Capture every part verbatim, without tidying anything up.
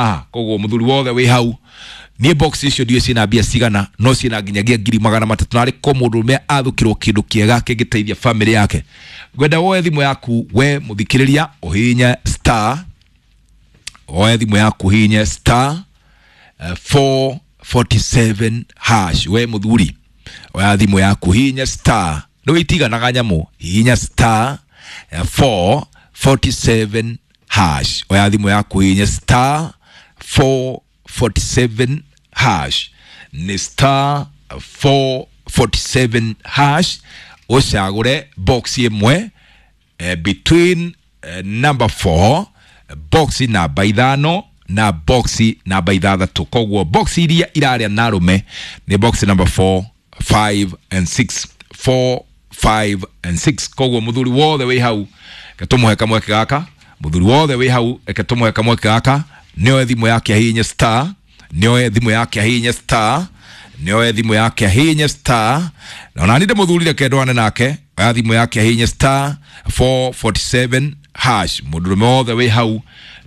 Ah, koguo muthuri wothe wi hau niä box icio ndiå ciä na mbia cigana no ciä na nginyagia ngiri magana matatũ narä ko må ndå rå athå kä ndå kä ega kä ngä teithia bamä yake. Ngwenda woe thimå yaku we må thikä rä ria å hihinye star, woe thimå yaku hihinye star eh, four forty-seven hash. We muthuri oya thimå yaku hihinye star, nä wä itiganaga nyamå, hihinya star eh, four forty-seven hash. Oya thimå yaku hihinye star four forty-seven hash, nä star four forty-seven hash, ũcagũre box ĩmwe eh, between eh, number four, box namba ithano na box namba ithathatũ. Koguo box iria iraria na arũme nĩ box number four, five and six, four, five and six. Koguo muthuri wothe wĩ hau reke tũmũhe kamweke gaka, muthuri wothe wĩ hau reke tũmũhe kamweke gaka, nĩoe thimũ yake ahihinye star, nĩoe thimũ yake ahihinye star, nĩoe thimũ yake ahihinye star. Na ona niĩ ndĩmũthuri reke ndwane nake, oya thimũ yake ahihinye star four forty-seven hash. Mũndũrũme wothe wĩ hau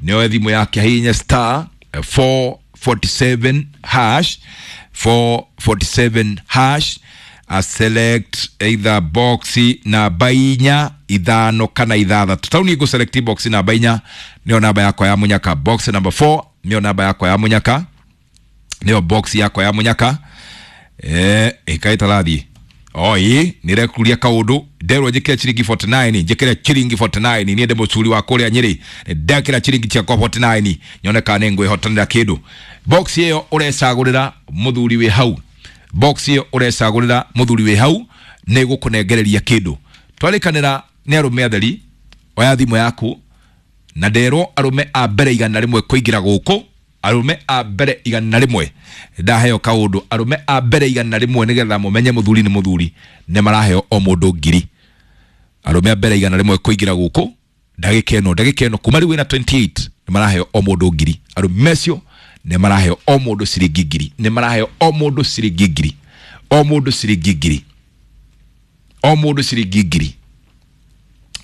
nĩoe thimũ yake ahihinye star four forty-seven hash, four forty-seven hash, a select either box namba inya, ithano kana ithathatũ. Tau niĩ ngũ select box namba inya, nĩyo namba yakwa ya mũnyaka. Box number four nĩyo namba yakwa ya mũnyaka, nĩyo box yakwa ya mũnyaka. Eh, ĩkaĩ tarathiĩ oi nĩrekuria kaũndũ nderwo njĩkĩre ciringi forty-nine, njĩkĩre ciringi forty-nine. Niĩ ndĩ mũcuri wa kũrĩa Nyĩrĩ, ndekĩra ciringi ciakwa forty-nine nyone kana nĩngwĩhotanĩra kĩndũ. Box ĩyo ũrecagũrĩra mũthuri wĩ hau, box ĩyo ũrecagũrĩra mũthuri wĩ hau nĩ gũkũnengereria kĩndũ. Twarĩkanĩra nĩ arũme atheri, oya thimũ yaku na nderwo arũme a mbere igana rĩmwe kũingĩra gũkũ, arũme a mbere igana rĩmwe ndaheo kaũndũ, arũme a mbere igana rĩmwe nĩgetha mũmenye mũthuri nĩ mũthuri nĩ maraheo o mũndũ ngiri. Arũme a mbere igana rĩmwe kũingĩra gũkũ ndagĩka ĩno, ndagĩka ĩno kuma rĩu wĩna twenty-eight nĩ maraheo o mũndũ ngiri. Arũme acio nĩ maraheo o mũndũ ciringi ngiri, nĩ maraheo o mũndũ ciringi ngiri, o mũndũ ciringi ngiri, o mũndũ ciringi ngiri,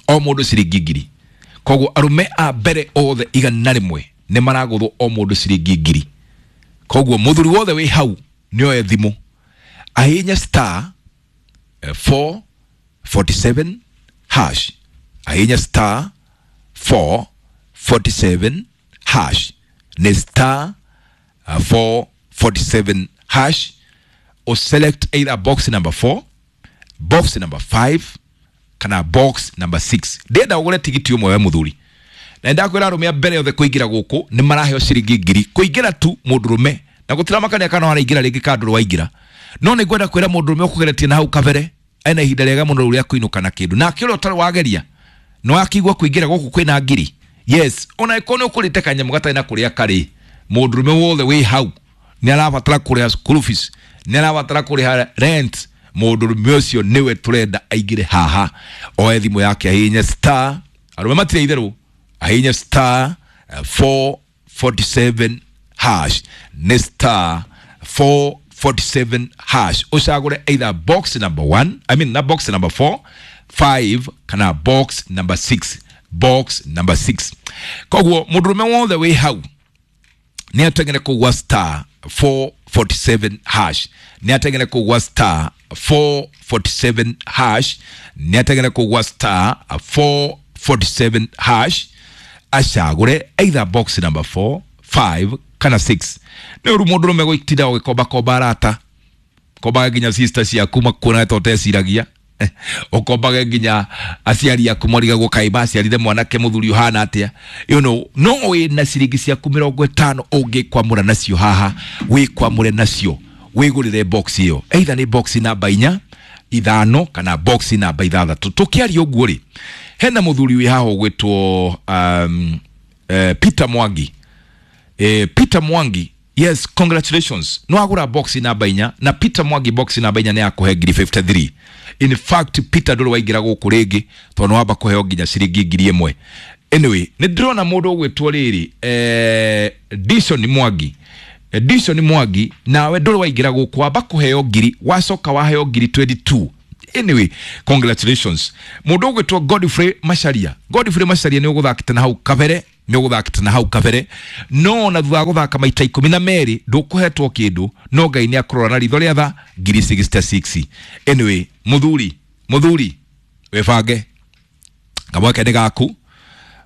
o mũndũ ciringi ngiri. Koguo arũme a mbere othe igana rĩmwe nĩ maragũthwo o mũndũ ciringi ngiri. Koguo mũthuri wothe wĩ hau nĩoe thimũ ahihinye star four forty-seven hash, ahihinye star four forty-seven hash, nĩ star four forty-seven hash, o select either box number four, box number five kana box number six. Ndĩrenda ũgũre tigiti ũmwe we mũthuri, na ndakwĩra arũme a mbere othe kũingĩra gũkũ nĩ maraheo ciringi ngiri kũingĩra tu mũndũrũme, na gũtiramakania kana waraingĩra rĩngĩ kana ndũrĩ waingĩra. No nĩ ngwenda kwĩra mũndũrũme ũkũgeretie na hau kabere ena ihinda rĩega mũno rĩu rĩa kũinũka na kĩndũ, nake ũrĩa ũtarĩ wageria no akigua kũingĩra gũkũ kwĩna ngiri. Yes, ona ĩkorwo nĩ ũkũrĩte kanyamũ gatarĩ na kũrĩa karĩ, mũndũrũme wothe wĩ hau nĩ arabatara kũrĩha school fees, nĩ arabatara kũrĩha rent, mũndũrũme ũcio nĩwe tũrenda aingĩre haha, oe thimũ yake ahihinye star, arũme matirĩ itherũ, ahihinye star four forty-seven hash, nĩ star four forty-seven hash, ũcagũre either box number one, I mean na box number four, five kana box number six, box number six. Koguo mũndũrũme wothe wĩ hau nĩ ateng'ere kũgwa star four forty-seven hash, nĩ ateng'ere kũgwa star four forty-seven hash, nĩ ateng'ere kũgwa star four forty-seven hash, acagũre either box number four, five kana six. Nĩ ũru mũndũrũme gũtinda ũgĩkombakomba arata, kombaga nginya sister ciaku makuona ta ũteciragia, ũkombage nginya aciari aku marigagwo kaĩ maciarire mwanake mũthuri ũhana atĩa, you know, no wĩna ciringi ciaku mĩrongo ĩtano ũngĩkwamũra nacio haha, wĩkwamũre nacio wĩgũrĩre box ĩyo, either nĩ box namba inya, ithano kana box namba ithathatũ. Tũkĩaria ũguo rĩ, hena mũthuri wĩ haha ũgwĩtwo um, eh, Peter Mwangi. Eh, Peter Mwangi, yes, congratulations, no agũra box namba inya, na Peter Mwangi box namba inya nĩ akũhe ngiri fifty-three. In fact Peter ndũrĩ waingĩra gũkũ rĩngĩ tondũ nĩ wamba kũheo nginya ciringi ngiri ĩmwe. Anyway, nĩ ndĩrona mũndũ ũgwĩtwo rĩrĩ eh, Dishon Mwangi, Dishon Mwangi, nawe ndũrĩ waingĩra gũkũ, wamba kũheo ngiri, wacoka waheo ngiri twenty-two. Anyway, congratulations. Mũndũ ũgwĩtwo Godfrey Macharia, Godfrey Macharia nĩ ũgũthakĩte na hau kabere, nĩ ũgũthakĩte na hau kabere, no ona thutha wa gũthaka maita ikũmi na merĩ ndũkũhetwo kĩndũ, no Ngai nĩ akũrora na ritho rĩa tha ngiri sixty-six. Anyway, mũthuri, mũthuri wĩbange, kamweke nĩ gaku,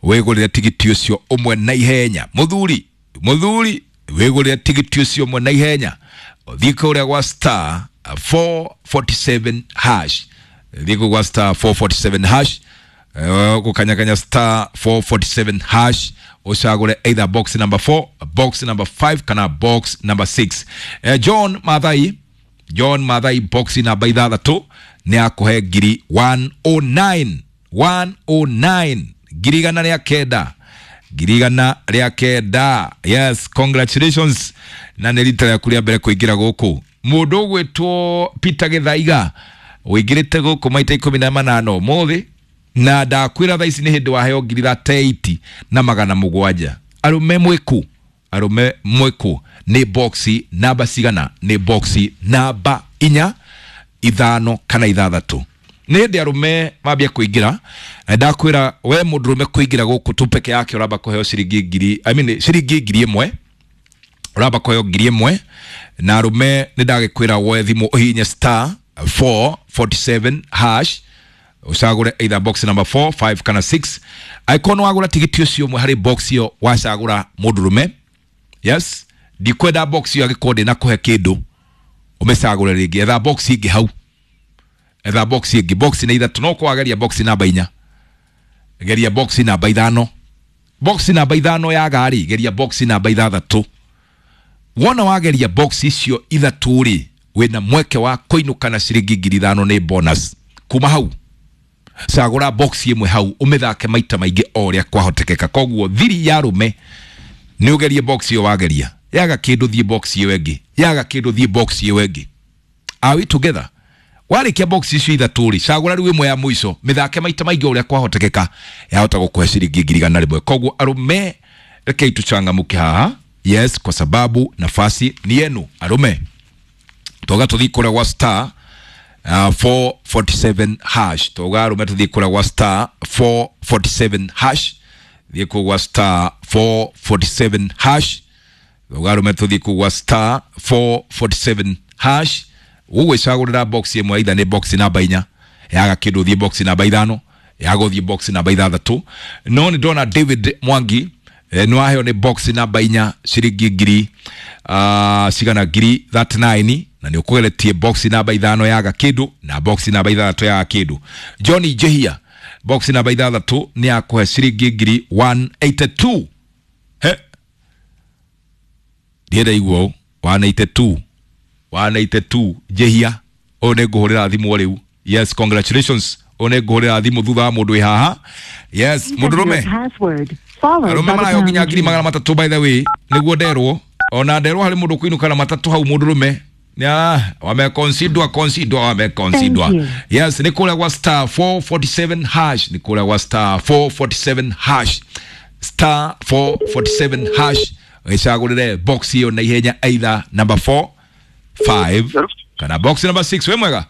wĩgũrĩre tigiti ũcio ũmwe na ihenya. Mũthuri, mũthuri wĩgũrĩre tigiti ũcio ũmwe na ihenya, ũthiĩ kũrĩa gwa star four forty-seven hash, thiĩ kũu gwa star four forty-seven hash, gũkanyakanya star four forty-seven hash, ũcagũre either box number four, box number five kana box number six. Eh, John Mathai, John Mathai box namba ithathatũ nĩ akũhe ngiri one oh nine, one oh nine, ngiri igana rĩa kenda, ngiri igana rĩa kenda. Yes, congratulations. Na nĩ rita rĩaku rĩa mbere kũingĩra gũkũ. Mũndũ ũgwĩtwo Peter Gĩthaiga ũingĩrĩte gũkũ maita ikũmi na manana ũmũthĩ, na ndakwĩra thaa ici nĩ hĩndĩ waheo ngiri thirty-eight na magana mũgwanja. Arũme mwĩkũ, arũme mwĩkũ, nĩ boxi namba cigana? Nĩ boxi namba inya, ithano kana ithathatũ. Nĩ hĩndĩ arũme mambia kũingĩra, na ndakwĩra we mũndũrũme kũingĩra gũkũ tu peke yake ũramba kũheo ciringi ngiri, I mean, ciringi ngiri ĩmwe, ũramba kũheo ngiri ĩmwe. Na arũme nĩ ndagĩkwĩra woe thimũ ũhihinye star four forty-seven hash, ũcagũre either box number four, five kana six. Angĩkorwo nĩ wagũra tigiti ũcio ũmwe harĩ box ĩyo wacagũra mũndũrũme, yes, ndikwenda box ĩyo angĩkorwo ndĩnakũhe kĩndũ, ũmĩcagũre rĩngĩ. Etha box ĩngĩ hau, etha box ĩngĩ. Box nĩ ithatũ, no ũkorwo wageria box namba inya, geria box namba ithano, box namba ithano yaga rĩ, geria box namba ithathatũ. Wona wageria box icio ithatũ rĩ, wĩna mweke wa kũinũka na ciringi ngiri ithano nĩ bonus. Kuma hau cagũra box ĩmwe hau ũmĩthake maita maingĩ o ũrĩa kwahotekeka. Koguo thiri ya arũme nĩ ũgerie box ĩyo wageria, yaga kĩndũ thiĩ box ĩyo ĩngĩ, yaga kĩndũ thiĩ box ĩyo ĩngĩ. Are we together? Warĩkia box icio ithatũ rĩ, cagũra rĩu ĩmwe ya mũico, mĩthake maita maingĩ o ũrĩa kwahotekeka, yahota gũkũhe ciringi ngiri igana rĩmwe. Koguo arũme rekei tũcangamũke haha, yes, kwa sababu nafasi ni yenu arũme. Toga tũthiĩ kũrĩa gwa star, uh, four forty-seven hash. Toga arũme tũthiĩ kũrĩa gwa star four forty-seven hash, thiĩ kũu gwa star four forty-seven hash. Toga arũme tũthiĩ kũu gwa star four forty-seven hash, ũgwĩcagũrĩra box ĩmwe, either nĩ box namba inya, yaga kĩndũ thiĩ box namba ithano, yaga ũthiĩ box namba ithathatũ. No nĩ ndona David Mwangi, eh, nĩ waheo nĩ box namba inya ciringi ngiri, uh, cigana ngiri thirty-nine, na nĩ ũkũgeretie box namba ithano yaga kĩndũ na box namba ithathatũ yaga kĩndũ. Johnny Njehia box namba ithathatũ nĩ akũhe ciringi ngiri one eighty-two. He, ndienda igua ũũ, one eighty-two, one eighty-two. Njehia ũyũ nĩ ngũhũrĩra thimũ rĩu. Yes, congratulations. Ũyũ nĩ ngũhũrĩra thimũ thutha wa mũndũ wĩ haha. Yes, mũndũrũme. Arũme maraheo nginya ngiri magana matatũ by the way, nĩguo nderwo. Ona nderwo harĩ mũndũ kũinũka na matatũ hau mũndũrũme. Ya, wamekonsidwa, konsidwa, wamekonsidwa. Yes, nĩ kũrĩa gwa star four forty-seven hash, nĩ kũrĩa gwa star four forty-seven hash, star four forty-seven hash. Wĩcagũrĩre box ĩyo na ihenya, either number four, five kana box number six. Wĩ mwega?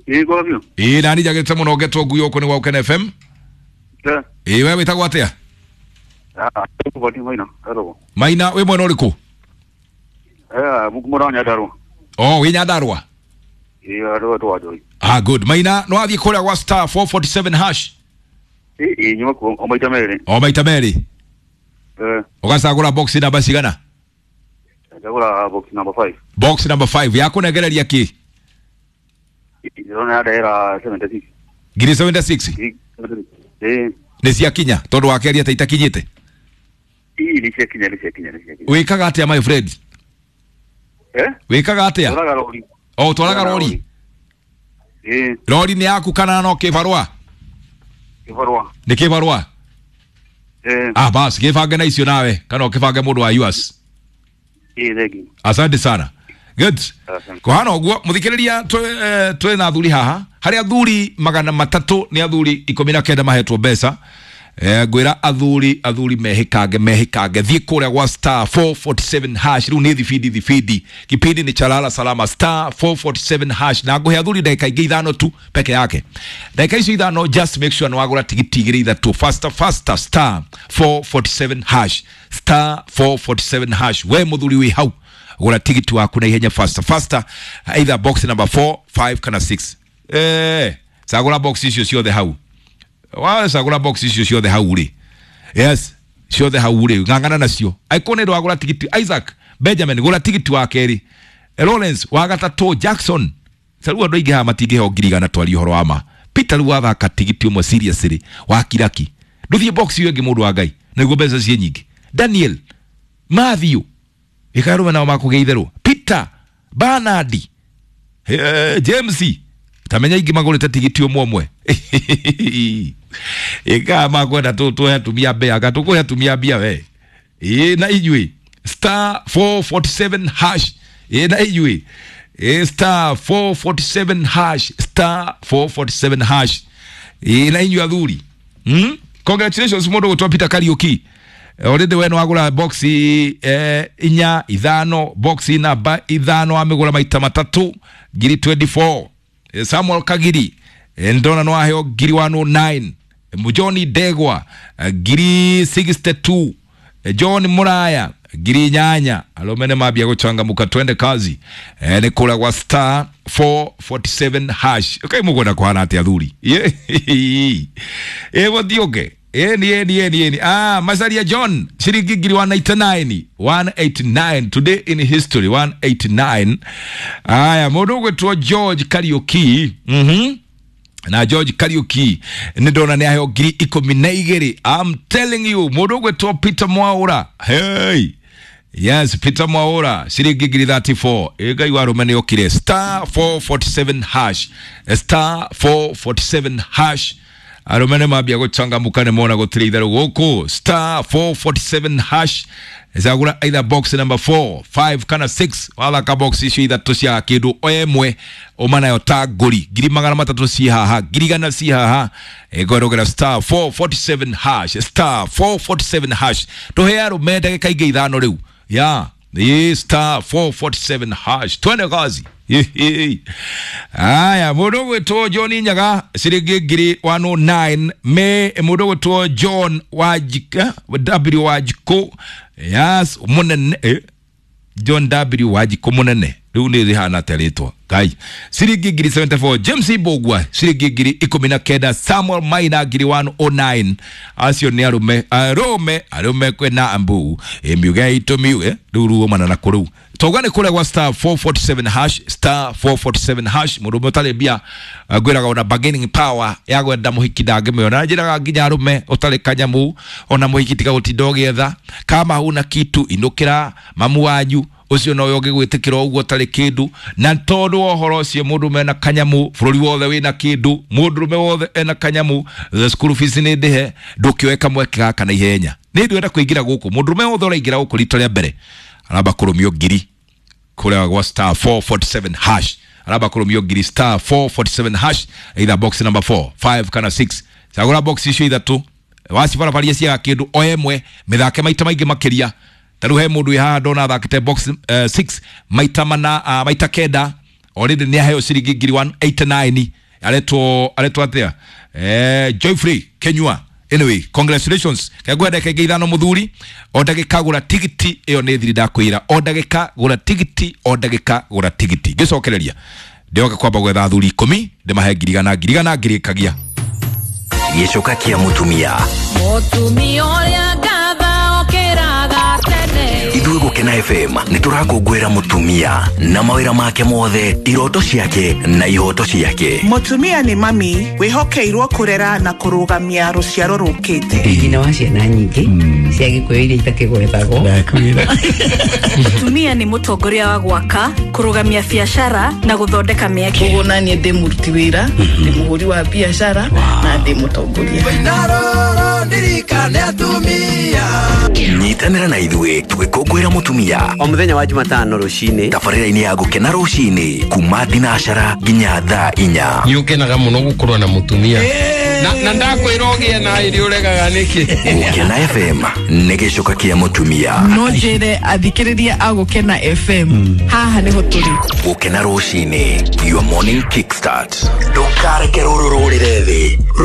Ĩĩ, kwa biũ. Ĩĩ, nani njagĩrĩte mũno ngetwo ngui gũkũ nĩ gwa Ũkene F M. Eh. Ĩĩ, we wĩtagwo atĩa? Ah, Maina, hello. Maina, wĩ mwena ũrĩkũ? Eh, mũkũmũra Nyandarũa. Oh, wĩ Nyandarũa? Ĩĩ, andũ andũ anjoi. Ah, good. Maina, no wathiĩ kũrĩa gwa star four forty-seven hash? Ĩĩ, ĩĩ, nyuma kuo, o maita merĩ. O maita merĩ? Eh. Ũgacagũra box namba cigana? Ndagũra box number five. Box number five. Yakũnengereria kĩ? Ndĩrona yandehera seventy-six. Ngiri seventy-six? Ĩĩ. Nĩ ciakinya tondũ wakeria ta itakinyĩte? Ĩĩ, nĩ ciakinya, nĩ ciakinya, nĩ ciakinya. Wĩkaga atĩa my friend? Eh? Wĩkaga atĩa? Twaraga rori. Oh, twaraga rori? Ĩĩ. Rori nĩ yaku kana no kĩbarũa? Kĩbarũa. Nĩ kĩbarũa? Ĩĩ. Ah, bas, kĩbange na icio nawe kana ũkĩbange mũndũ wa U S. Ĩĩ, thengi. Asante sana. Good. Asante. Kũhana ũguo mũthikĩrĩria, twĩ na athuri haha. Harĩ athuri magana matatũ nĩ athuri ikũmi na kenda mahetwo mbeca, Eh, ngwira athuri athuri mehikange mehikange thiĩ kũrĩa gwa star four forty-seven hash rĩu nĩ thibindi thibindi kipindi ni chalala salama star four forty-seven hash na ngũhe athuri ndagĩka ingĩ ithano tu peke yake ndagĩka icio ithano just make sure nĩwagũra tigiti igĩrĩ ithatũ faster faster star four forty-seven hash star four forty-seven hash we mũthuri wĩ hau gũra tigiti waku na ihenya faster faster either box number four five kana six eh cagũra box icio ciothe hau wacagũra box icio ciothe hau rĩ yes ciothe hau rĩ ng'ang'ana nacio angĩkorwo nĩ ndwagũra tigiti Isaac Benjamin gũra tigiti wa kerĩ Lawrence wa gatatũ Jackson rĩu andũ aingĩ haha matingĩheo ngiri igana twarie ũhoro wa ma Peter rĩu wathaka tigiti ũmwe seriously wa kiraki ndũthiĩ box ĩyo ĩngĩ mũndũ wa Ngai nĩguo mbeca ciĩ nyingĩ Daniel Matthew ĩkarũme nao makũgĩa itherũ Peter Bernard eh, James tamenya ingĩ magũrĩte tigiti ũmwe ũmwe ĩkaa makwenda tũhe atumia mbia anga tũkũhe atumia mbia we ĩ na inyuĩ star four forty-seven hash ĩ na inyuĩ ĩ star four forty-seven hash star four forty-seven hash ĩ na inyuĩ athuri hmm? Congratulations mũndũ gũtwa Peter Kariuki already we nĩwagũra box eh, inya ithano box namba ithano wamĩgũra maita matatũ ngiri twenty-four Samuel Kagiri ndona no aheo ngiri one oh nine John Degwa ngiri sixty-two John Muraya ngiri inyanya alomene mabia guchangamuka twende kazi e, ni kura gwa star four forty-seven hash okay mugwenda kuhana atia athuri e guthiũke eni eni eni eni ah Masaria John ciringi ngiri one eighty-nine one eighty-nine today in history one eighty-nine aya mundu ugwitwo George Kariuki mhm na George Kariuki nĩ ndona nĩ aheo ngiri ikũmi na igĩrĩ I'm telling you mũndũ ũgwĩtwo Peter Mwaura hey yes Peter Mwaura ciringi ngiri thirty-four ĩ Ngai wa arũme nĩ okire star four forty-seven hash star four forty-seven hash arũme nĩ mambia gũcangamũka nĩ mona gũtirĩ itherũ gũkũ star four forty-seven hash cagũra either box number four five kana six wathaka box icio ithatũ cia kĩndũ o ĩmwe ũma nayo ta ngũri ngiri magana matatũ ciĩ haha ngiri igana ciĩ haha ĩngwerũgĩra star four forty-seven hash star four forty-seven hash tũhe arũme ndagĩka ingĩ ithano rĩu ya ĩ star four forty-seven hash twende kazi aya mũndũ ũgwĩtwo John Nyaga ciringi ngiri one oh nine me mũndũ ũgwĩtwo John Wajika W Wajiko yes mũnene eh, John W Wajiko mũnene rĩu nĩ rĩhana atĩa rĩtwa Ngai ciringi ngiri seventy-four James Ibogwa ciringi ngiri ikũmi na kenda Samuel Maina ngiri one oh nine acio nĩ arũme arũme arũme kwĩna mbu ĩmiuge itũmiuge rĩu ruomana na kũrĩu tauga nĩ kũrĩa gwa star four forty-seven hash star four forty-seven hash mũndũ ũmwe ũtarĩ mbia ngwĩraga ona bargaining power ya gwenda mũhiki ndangĩmĩona njĩraga nginya arũme ũtarĩ kanyamu ona mũhiki tiga gũtinda ũgĩetha kama huna kitu inũkĩra mamu wanyu ucio no ũngĩgwĩtĩkĩra ũguo ũtarĩ kĩndũ na tondũ wa ũhoro ũcio mũndũ mena kanyamu bũrũri wothe wĩna kĩndũ mũndũrũme wothe ena kanyamu the school fees nĩ ndĩhe ndũkĩoe kamweke gaka na ihenya nĩ ndwenda kũingĩra gũkũ mũndũrũme wothe ũraingĩra gũkũ rita rĩa mbere aramba kũrũmio ngiri kũrĩa gwa star four forty-seven hash aramba kũrũmio ngiri star four forty-seven hash either box number four five kana six cagũra box icio ithatũ wacibarabaria ciaga kĩndũ o ĩmwe mĩthake maita maingĩ makĩria taru he mundu haha ndona athakite box uh, six maita mana uh, maita kenda already ni aheo ciringi ngiri one eighty-nine aretwo aretwo atia eh Joyfrey Kenyua anyway congratulations kegwa ndagĩka ingĩ ithano mũthuri o ndagĩka gũra tigiti ĩyo nĩ thiri ndakwĩra o ndagĩka gũra tigiti o ndagĩka gũra tigiti ngĩcokereria ndĩoka kwamba gwetha athuri ikũmi ndĩmahe ngiri igana ngiri igana ngĩrĩkagia gĩcoka kĩa mũtumia mũtumia ũrĩa ngatha okĩraga tene ithuĩ Gũkena F M nĩ tũrakũngũĩra mũtumia na mawĩra make mothe iroto ciake na ihoto ciake mũtumia nĩ mami wĩhokeirwo kũrera na kũrũgamia rũciaro rũkĩte nyina wa ciana nyingĩ cia Gĩkũyũ iria itakĩgwetagwo mũtumia nĩ mũtongoria wa gwaka kũrũgamia biacara na gũthondeka mĩeke koguo naniĩ ndĩ mũruti wĩra ndĩ mũhũri wa biacara na ndĩ mũtongoria nyita Nyitanĩra na ithuĩ tũgĩkũngũĩra mũtumia o mũthenya wa Jumatano rũcinĩ tabarĩra-inĩ ya Gũkena rũcinĩ kuma thinacara nginya thaa inya. Nĩ ũkenaga mũno gũkorwo na mũtumia na, na ndakwĩra ũgĩe na ĩrĩ ũregaga nĩkĩ. Gũkena F M nĩ gĩcoka kĩa mũtumia. No njĩre athikĩrĩria a Gũkena F M haha nĩho tũrĩ. Gũkena rũcinĩ, your morning kickstart. Ndũkareke rũrũ rũrĩre thĩ.